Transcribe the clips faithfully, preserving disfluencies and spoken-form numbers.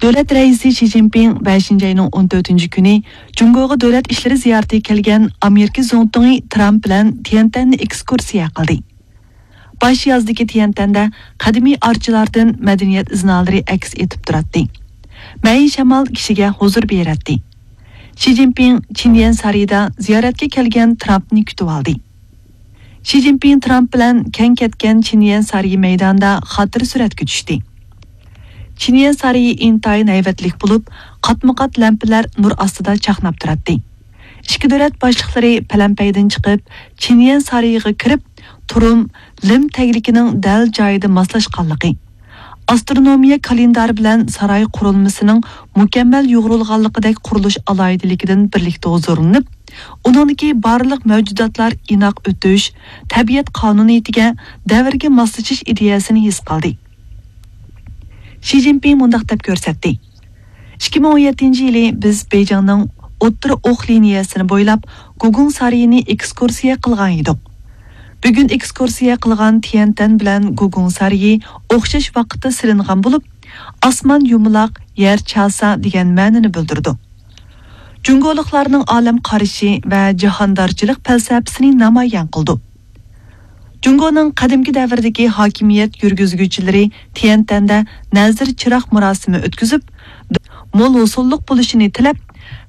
دۆلەت رەئىسى شى جىنپىڭ بەشىنچى ئاينىڭ ئون تۆتىنچى كۈنى جۇڭگوغا دۆلەت ئىشلىرى زىيارىتىگە كەلگەن ئامېرىكا زۇڭتۇڭى ترامپ بىلەن تيەنتەننى ئېكسكۇرسىيە قىلدى. باش يازدىكى تيەنتەندە قەدىمىي ئارچىلاردىن مەدەنىيەت ئىزنالىرى ئەكس ئېتىپ تۇراتتى. مەيىن شامال كىشىگە ھۇزۇر بېرەتتى. شى جىنپىڭ چىنيەن سارىيىدا زىيارەتكە كەلگەن ترامپنى كۈتۈۋالدى. شى جىنپىڭ ترامپ بىلەن كەڭ كەتكەن چىنيەن سارىيى مەيدانىدا خاتىرە سۈرەتكە چۈشتى. چىنيەن سارىيى ئىنتايىن ھەيۋەتلىك بولۇپ، قاتمۇقات لەمپىلەر نۇر ئاستىدا چاقناپ تۇراتتى. ئىككى دۆلەت باشلىقلىرى پەلەمپەيدىن چىقىپ، چىنيەن سارىيىغا كىرىپ، تۇرۇم لىم تەگلىكىنىڭ دەل جايىدا ماسلاشقانلىقى، ئاسترونومىيە كالېندارى بىلەن ساراي قۇرۇلمىسىنىڭ مۇكەممەل يۇغۇرۇلغانلىقىدەك قۇرۇلۇش ئالاھىدىلىكىدىن بىرلىكتە ھۇزۇرلىنىپ، ئۇنىڭدىكى بارلىق مەۋجۇداتلار ئىناق ئۆتۈش، تەبىئەت قانۇنىيىتىگە، دەۋرگە ماسلىشىش ئىدىيەسىنى ھېس قىلدى. شى جىنپىڭ مۇنداق دەپ كۆرسەتتى: ئىككى مىڭ ئون يەتتىنچى يىلى بىز بېيجىڭنىڭ ئوتتۇرا ئوق لىنىيەسىنى بويلاپ گۇگۇڭ سارىيىنى ئېكسكۇرسىيە قىلغان ئىدۇق. بۈگۈن ئېكسكۇرسىيە قىلغان تيەنتەن بىلەن گۇگۇڭ سارىيى ئوخشاش ۋاقىتتا سېلىنغان بولۇپ، ئاسمان يۇمىلاق، يەر چاسا دېگەن مەنىنى بىلدۈرىدۇ. جۇڭگولۇقلارنىڭ ئالەم قارىشى ۋە جاھاندارچىلىق پەلسەپىسىنى نامايان قىلىدۇ. جۇڭگونىڭ قەدىمكى دەۋردىكى ھاكىمىيەت يۈرگۈزگۈچىلىرى تيەنتەندە نەزىر چىراغ مۇراسىمى ئۆتكۈزۈپ، مول ھوسۇللۇق بولۇشىنى تىلەپ،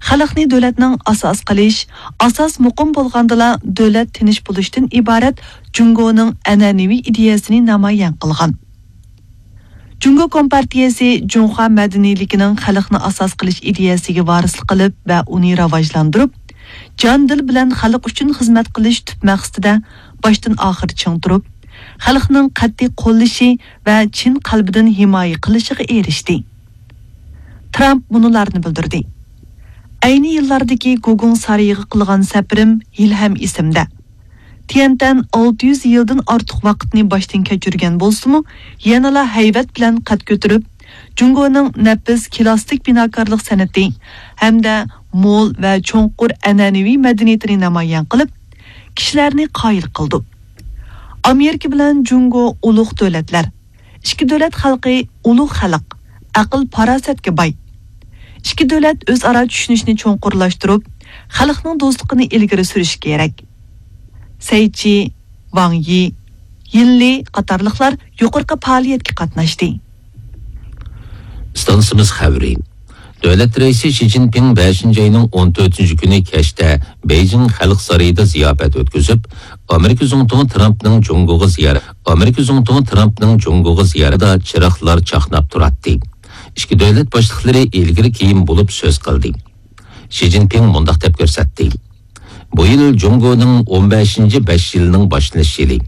خەلقنى دۆلەتنىڭ ئاساس قىلىش، ئاساس مۇقىم بولغاندىلا دۆلەت تىنچ بولۇشتىن ئىبارەت جۇڭگونىڭ ئەنئەنىۋى ئىدىيەسىنى نامايان قىلغان. جۇڭگو كومپارتىيەسى جۇڭخۇا مەدەنىيلىكىنىڭ خەلقنى ئاساس قىلىش ئىدىيەسىگە ۋارىسلىق قىلىپ ۋە ئۇنى راۋاجلاندۇرۇپ، جان-دىل بىلەن خەلق ئۈچۈن خىزمەت قىلىش تۈپ مەقسىتىدە باشتىن-ئاخىر چىڭ تۇرۇپ، خەلقنىڭ قەتئىي قوللىشى ۋە چىن قەلبىدىن ھىمايە قىلىشىغا ئېرىشتى. ترامپ مۇنۇلارنى بىلدۈردى: ئەينى يىللاردىكى گۇگۇڭ سارىيىغا قىلغان سەپىرىم ھېلىھەم ئېسىمدە. تيەنتەن ئالتە يۈز يىلدىن ئارتۇق ۋاقىتنى باشتىن كەچۈرگەن بولسىمۇ، يەنىلا ھەيۋەت بىلەن قەد كۆتۈرۈپ، جۇڭگونىڭ نەپىس كىلاسسىك بىناكارلىق سەنئىتى ھەمدە مول ۋە چوڭقۇر ئەنئەنىۋى مەدەنىيىتىنى نامايان قىلىپ، كىشىلەرنى قايىل قىلىدۇ. ئامېرىكا بىلەن جۇڭگو ئۇلۇغ دۆلەتلەر. ئىككى دۆلەت خەلقى ئۇلۇغ خەلق، ئەقىل-پاراسەتكە باي. ئىككى دۆلەت ئۆزئارا چۈشىنىشنى چوڭقۇرلاشتۇرۇپ، خەلقنىڭ دوستلۇقىنى ئىلگىرى سۈرۈشى كېرەك. سەيچى، ۋاڭ يى، يىنلى قاتارلىقلار يۇقىرىقى پائالىيەتكە قاتناشتى. ئىستانسىمىز خەۋىرى. دۆلەت رەئىسى شى جىنپىڭ بەشىنچى ئاينىڭ ئون تۆتىنچى كۈنى كەچتە بېيجىڭ خەلق سارىيىدا زىياپەت ئۆتكۈزۈپ، ئامېرىكا زۇڭتۇڭى ترامپنىڭ جۇڭگوغا زىيارەت، ئامېرىكا زۇڭتۇڭى ترامپنىڭ جۇڭگوغا زىيارىتىدا چىراغلار چاقناپ تۇراتتى. ئىككى دۆلەت باشلىقلىرى ئىلگىرى كېيىن بولۇپ سۆز قىلدى. شى جىنپىڭ مۇنداق دەپ كۆرسەتتى: بۇ يىل جۇڭگونىڭ ئون بەشىنچى بەش يىلىنىڭ باشلىنىش يىلى.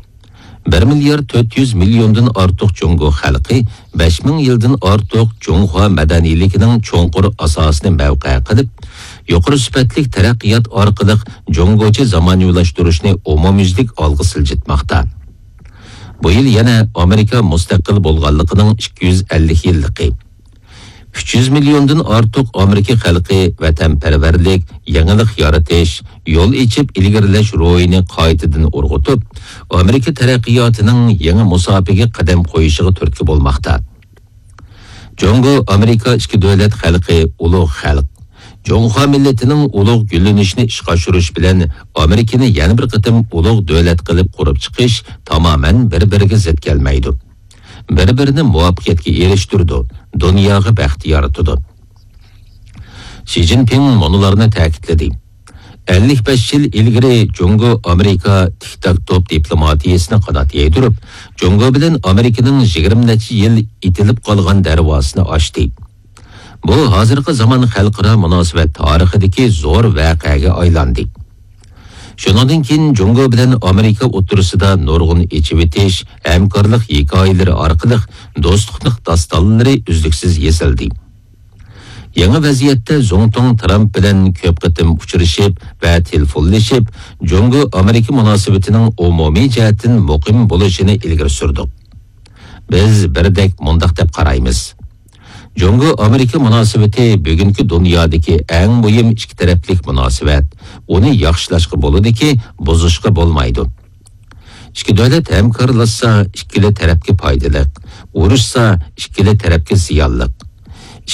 بىر مىليارد تۆت يۈز مىليوندىن ئارتۇق جۇڭگو خەلقى بەش مىڭ يىلدىن ئارتۇق جۇڭخۇا مەدەنىيلىكىنىڭ چوڭقۇر ئاساسىنى مەۋقە قىلىپ، يۇقىرى سۈپەتلىك تەرەققىيات ئارقىلىق جۇڭگوچە زامانىۋىلاشتۇرۇشنى ئومۇميۈزلۈك ئالغا سىلجىتماقتا. بۇ يىل يەنە ئامېرىكا مۇستەقىل بولغانلىقىنىڭ ئىككى يۈز ئەللىك يىللىقى. ئۈچ يۈز مىليوندىن ئارتۇق ئامېرىكا خەلقى ۋەتەنپەرۋەرلىك، يېڭىلىق يارىتىش، يول ئېچىپ ئىلگىرىلەش روھىنى قايتىدىن ئۇرغۇتۇپ، ئامېرىكا تەرەققىياتىنىڭ يېڭى مۇساپىگە قەدەم قويۇشىغا تۈرتكە بولماقتا. جۇڭگو ئامېرىكا ئىككى دۆلەت خەلقى ئۇلۇغ خەلق. جۇڭخۇا مىللىتىنىڭ ئۇلۇغ گۈللىنىشىنى ئىشقا ئاشۇرۇش بىلەن ئامېرىكىنى يەنە بىر قېتىم ئۇلۇغ دۆلەت قىلىپ قۇرۇپ چىقىش تامامەن بىر-بىرىگە زىت كەلمەيدۇ. بىر-بىرىنى مۇۋەپپەقىيەتكە ئېرىشتۈرىدۇ، دۇنياغا بەخت يارىتىدۇ. شى جىنپىڭ مۇنۇلارنى تەكىتلىدى: ئەللىك بەش يىل ئىلگىرى جۇڭگو ئامېرىكا تىك تاك توپ دىپلوماتىيىسىنى قانات يايدۇرۇپ، جۇڭگو بىلەن ئامېرىكىنىڭ يىگىرمە نەچچە يىل ئېتىلىپ قالغان دەرۋازىسىنى ئاچتى. بۇ ھازىرقى زامان خەلقئارا مۇناسىۋەت تارىخىدىكى زور ۋەقەگە ئايلاندى. شۇنىڭدىن كېيىن جۇڭگو بىلەن ئامېرىكا ئوتتۇرىسىدا نۇرغۇن ئېچىۋېتىش، ھەمكارلىق ھېكايىلىرى ئارقىلىق دوستلۇقلۇق داستانلىرى ئۈزلۈكسىز يېزىلدى. يېڭى ۋەزىيەتتە زۇڭتۇڭ ترامپ بىلەن كۆپ قېتىم ئۇچرىشىپ ۋە تېلېفونلىشىپ، جۇڭگو ئامېرىكا مۇناسىۋىتىنىڭ ئومۇمىي جەھەتتىن مۇقىم بولۇشىنى ئىلگىرى سۈردۇق. بىز بىردەك مۇنداق دەپ قارايمىز. جۇڭگو ئامېرىكا مۇناسىۋىتى بۈگۈنكى دۇنيادىكى ئەڭ مۇھىم ئىككى تەرەپلىك مۇناسىۋەت. ئۇنى ياخشىلاشقا بولىدۇكى، بۇزۇشقا بولمايدۇ. ئىككى دۆلەت ھەمكارلاشسا، ئىككىلا تەرەپكە پايدىلىق، ئۇرۇشسا، ئىككىلا تەرەپكە زىيانلىق.